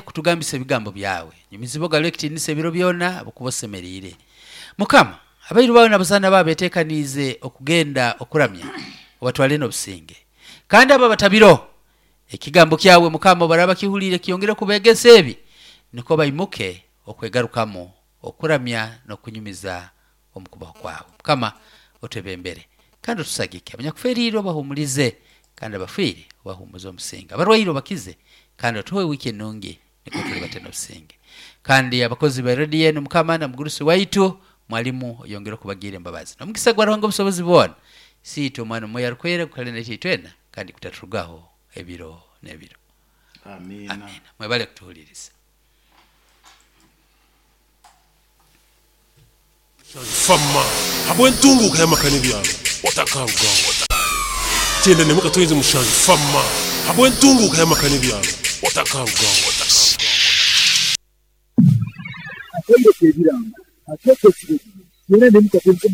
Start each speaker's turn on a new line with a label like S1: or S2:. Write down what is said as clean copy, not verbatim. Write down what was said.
S1: Kutugambisa ebigambo byawe, nyumizibwa ogarure ekitiinisa ebiro byona, habwokuba osemeriire. Mukama, abairu bawe n'abazaana bawe beeteekaniize okugenda okuramya, obatwale n'obusinge. Kandi abo abatabiro, ekigambo kyawe Mukama obu baraaba bakihuliire kiyongere kubeegesa ebi, nukwo baimuke okwegarukamu, okuramya n'okunyumiza omu kubaho kwawe. Mukama otwebembere kandi otusagike. Abanyakuferiirwe obahuumulize, kandi abafiire obahuumuze omusinge. Abarwaire obakize, kandi otuhe wiiki enungi nukwo tulibate n'obusinge. Kandi abakozi ba rediyo enu Mukama na mugurusi waitu mwalimu oyongere okubagiira embabazi. N'omugisa gwa Ruhanga obusobozi bwona, Isiitwe, Omwana, Omwoyo Arukwera gukale naitwe itwena kandi gutaturugaho ebiro n'ebiro.
S2: Amiina.
S1: Amiina. Mwebale kutuhuliiriza.
S3: Fama habw'entunguuka y'amaka n'ebyaro otakarugaho. 97 Fama habw'entunguuka y'amaka n'ebyaro otakarugaho.
S4: Akaire k'ebirango akeeka ekiro 94.